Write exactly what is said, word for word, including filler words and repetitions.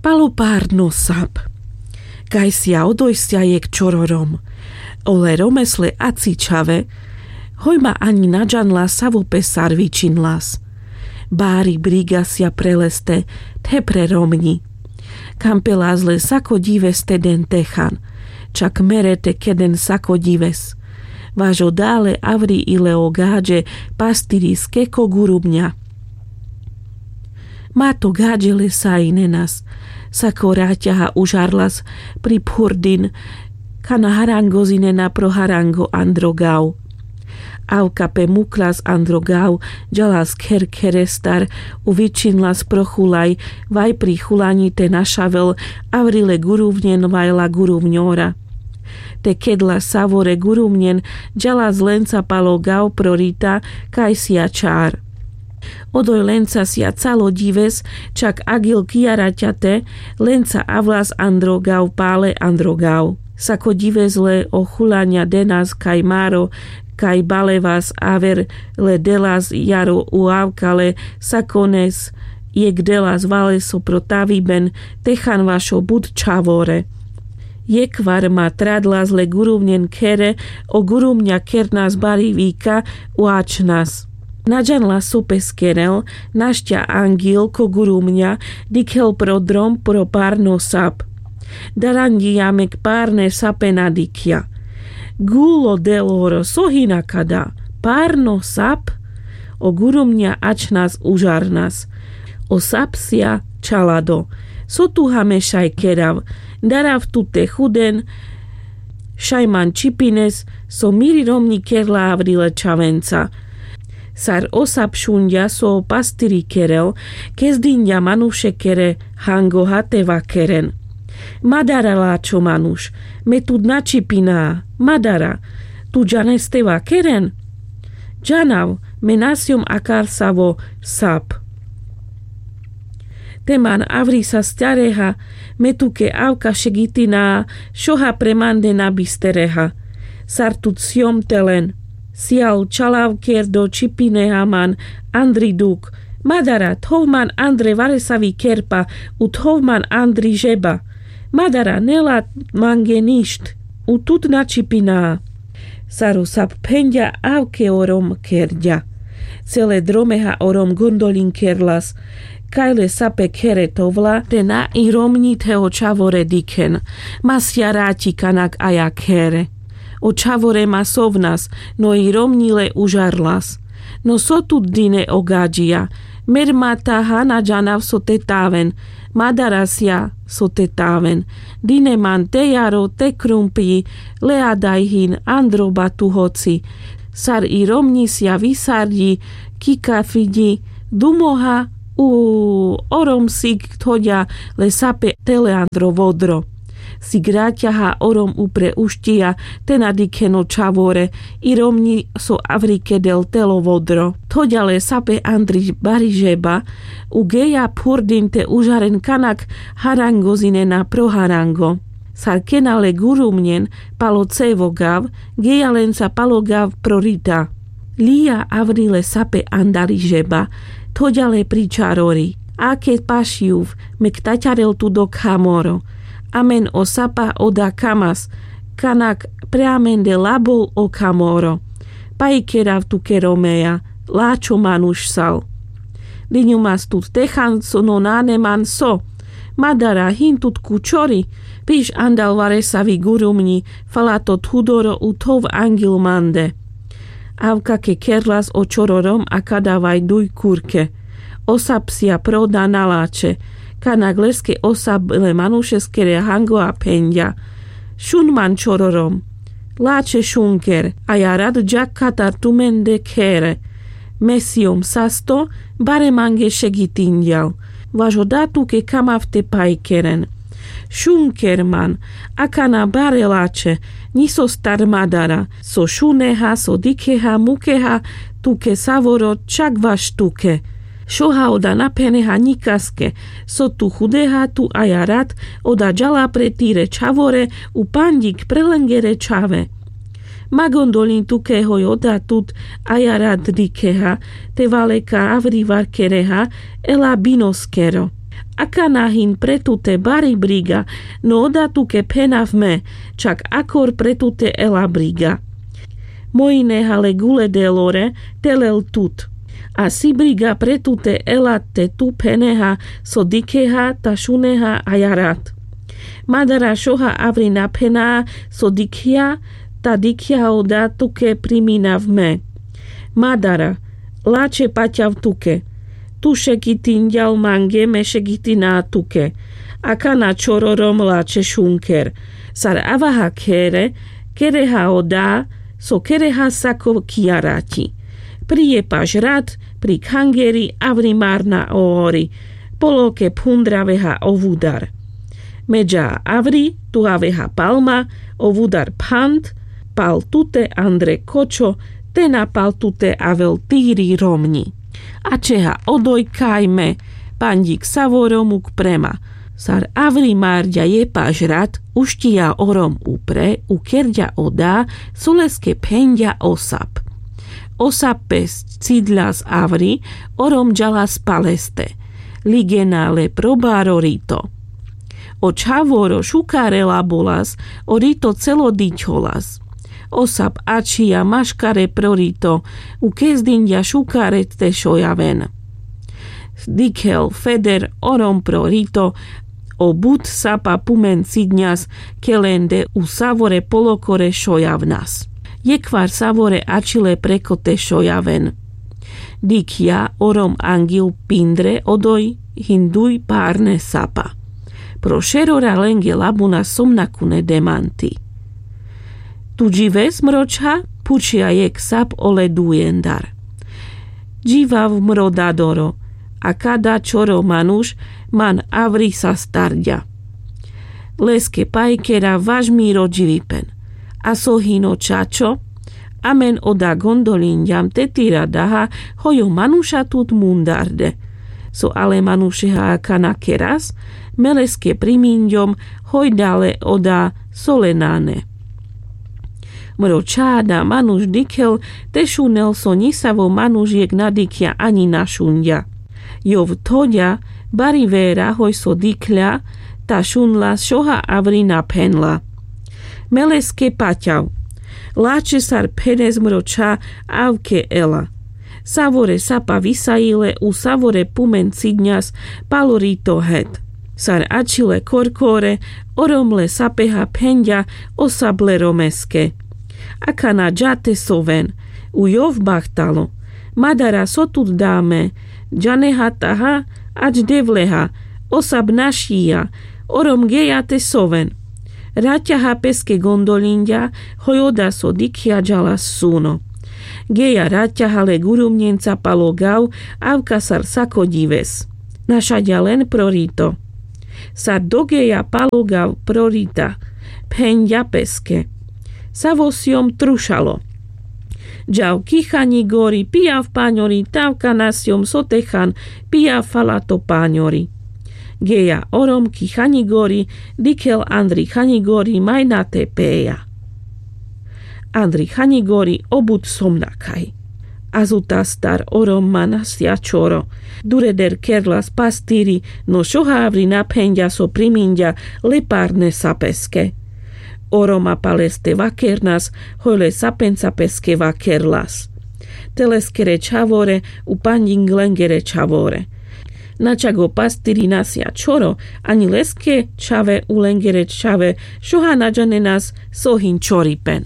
Palo parno sap. Kajsia odojsja jekh čoro rom. Ole romes le aci čhave. Hoj ma ani na džanla savo pe sar vičinlas. Bari brigasja preleste the pre romňi. Kampelas le sako ďives te den techan. Čak mere te keden sako ďives. Vaš oda le avri i le o gaďe pastiriske ko gurubňa. Ma to gaďe le sajinenas. Sako raťaha užarlas pri phurdin. Kana harangozinena pro harango andro gav. Avka pe muklas andro gav. Džalas kher kherestar. U vičinlas pro chulaj. Vaj pri chulaňi te našavel. Avri le guruvňen vaj la guruvňora. Te kedla savore guruvňen. Džalas lenca palo gav pro rita. Kajsia čar. Odoj lenca sja calo ďives. Čak agil kiaraťate. Lenca avlas andro gav pale andro gav. Sako ďives le o chulaňa denas kaj maro. Kaj balevas aver le delas jaro u avka le sakones. Jekh delas valeso pro taviben. Techan vašo but čhavore. Jekhvar ma tradlas le guruvňen khere. O guruvňa kernas bari vika. U ačhnas. Na džanla so pe skerel. Našťa angil ko guruvňa. Dikhel pro drom pro parno sap. Daranďija mek parne sape na dikhľa. Gulo deloro so hina kada. Parno sap. O guruvňa ačhnas užarnas. O sap sja čalado. So tu hameša i kerav. Darav tu te chuden. Šaj man čipines. So miri romňi kerla avri le čhavenca. Sar o sap šunďa so o pastiri kerel. Kezdinďa manuše kere hangoha te vakeren. Madara lačho manuš. Me tut na čipina. Madara. Tu džanes te vakeren. Džanav. Me na sjom akar savo sap. Te man avri sa stjareha. Me tuke avka šegitina. Šoha pre mande na bistereha. Sar tut sjom te len. Sijal čalav kerdo čipineha man andri duk. Madara thov man andre varesavi kerpa. U thov man andri žeba. Madara nela mange ništ. U tut na čipina. Sar o sap phenďa avke o rom kerďa. Cele dromeha o rom gondolin kerlas. Kaj le sape khere thovla te na i romňi the o čhavore dikhen. Ma sja raťi kanak aja khere. O čhavore ma sovnas. No i romňi le užarlas. No so tut dine o gaďija. Mer ma taha na džanav so te taven. Madara sja so te taven. Dine man te jaro te krumpľi. Le adaj hin andro batu hoci. Sar i romňi sja visarďi. Kikafiďi. Dumoha. U orom sik thoďa le sape tele andro vodro. Sik raťaha orom upre ušťija. Te na dikhen o čhavore. I romňi so avri kedel telo vodro. Thoďa le sape andri bari žeba. U geja phurdin te užaren kanak harangozinena pro harango. Sar kena le gurumňen palo cevo gav. Geja lenca palo gav pro rita. Lija avri le sape andari žeba. Thoďa le pri čarori. Ake pašľuv me ktaťarel tu do khamoro. Amen o sapa oda kamas. Kanak pre amende labol o khamoro. Paj kerav tuke romeja. Lačho manuš sal. Diňumas tut techan so no nane man so. Madara hin tut ku čori. Piš andal varesavi gurumňi. Fala to thudoro u thov angil mande. Avka ke kerlas o čoro rom akada vaj duj kurke. O sap sja proda na lačhe. Kanak leske o sap le manušeskere hango a phenďa. Šun man čoro rom. Lačhe šun ker. Aja rat džak katar tumende khere. Me sijom sasto. Bare mange šegitinďal. Vaš oda tuke kamav te paj keren. Šun ker man. Akana bare lačhe. Ňi so star madara. So šuneha so dikheha mukeha. Tuke savoro čak vaš tuke. Šoha oda na pheneha ňikaske. So tu chudeha tu aja rat. Oda džala pre tire čhavore. U panďik pre lengere čhave. Ma gondoľin tuke hoj oda tut aja rat dikheha. Te valeka avri varkereha. Ela binoskero. Akana hin pre tute bari briga. No oda tuke phenav me, čak akor pre tute ela briga. Mojineha le gule delore, te lel tut. A si briga pre tute ela te tu pheneha, so dikheha ta šuneha ajarat. Madara šoha avri na phenea, so dikhja, ta dikhja oda tuke priminav me. Madara, lačhe paťav tuke. Tu šekitinďal mange, me šekitina tuke. Akana čhor orom lačhe šunker. Sar avaha khere, kereha oda, so kereha sako kijarati. Pri jepaš rat, pri khangeri avri marna o ori. Poloke phundraveha o vudar. Me dža avri, tu aveha pal ma, o vudar phand, pal tute andre kočo, te na pal tute avel tiri romňi. Ačheha odoj kaj me, panďik savo romuk prema. Sar avri marďa jepaš rat, ušťija orom upre, ukerďa oda, so leske phenďa o sap. O sap pes cidľas avri, orom džalas paleste. Ligena le pro baro rito. O čhavoro šukare labolas, o rito celo dičholas. O sap ačhija maškare pro rito, ukezdinďa šukare te šojaven. Dikhel Feder orom pro rito, o but sapa pumen cidňas, kelende u savore polokore šojavnas. Jekhvar savore ačhile preko te šojaven. Dikhja orom angjil pindre odoj hin duj parne sapa. Pro šerora lenge labuna somnakune demanti. Tu džives, mro čha? Phučhja jekh sap ole dujendar. Dživav, mro dadoro, a kada čhoro manuš man avri sa starďa. Leske pajkera vaš miro dživipen. A so hin o čačo? Amen oda gondolinďam te tira daha, hoj o manuša tut mundarde. So ale manušeha akana keras? Me leske priminďom, hoj dale oda so le nane. Mro čha, da manuš dikhel, te šunel so ňisavo manuš jekh na dikhja aňi na šunďa. Jov thoďa, bari vera hoj so dikhľa, ta šunľa, šoha avri na phenľa. Me leske paťav. Lačhe sar phenes, mro čha, avke ela. Savore sapa visajile u savore pumen cidňas palo rito het. Sar ačhile korkore, orom le sapeha phenďa o sap le romeske. Akana dža te soven, u jov bahtalo. Madara, so tut da me? Džaneha taha, ač Devleha, o sap našija, orom geja te soven. Raťaha peske gondolinďa, hoj oda so dikhja džalas suno. Geja raťaha le gurumňenca palo gav, avka sar sako ďives. Našaďa len pro rito. Sar dogeja palo gav pro rita, phenďa peske. Savo sjom trušalo. Džav ki Chaňi gori, pijav paňori, tavka na sjom so te chan, pijav fala to paňori. Geja orom ki Chaňi gori, dikhel Andri Chaňi gori, maj na te peja. Andri Chaňi gori o but somnakaj. Azutastar orom ma na sjačoro. Dureder kerlas pastiri, no šoha avri na phenďa so priminďa le parne sapeske. Oroma paleste vakernas, hoj le sapenca peske vakerlas. Te leskere čhavore, u panďing lengere čhavore. Na čago pastiri na sjačoro, aňi leske čhave u lengere čhave, šoha na džanenas so hin čoripen.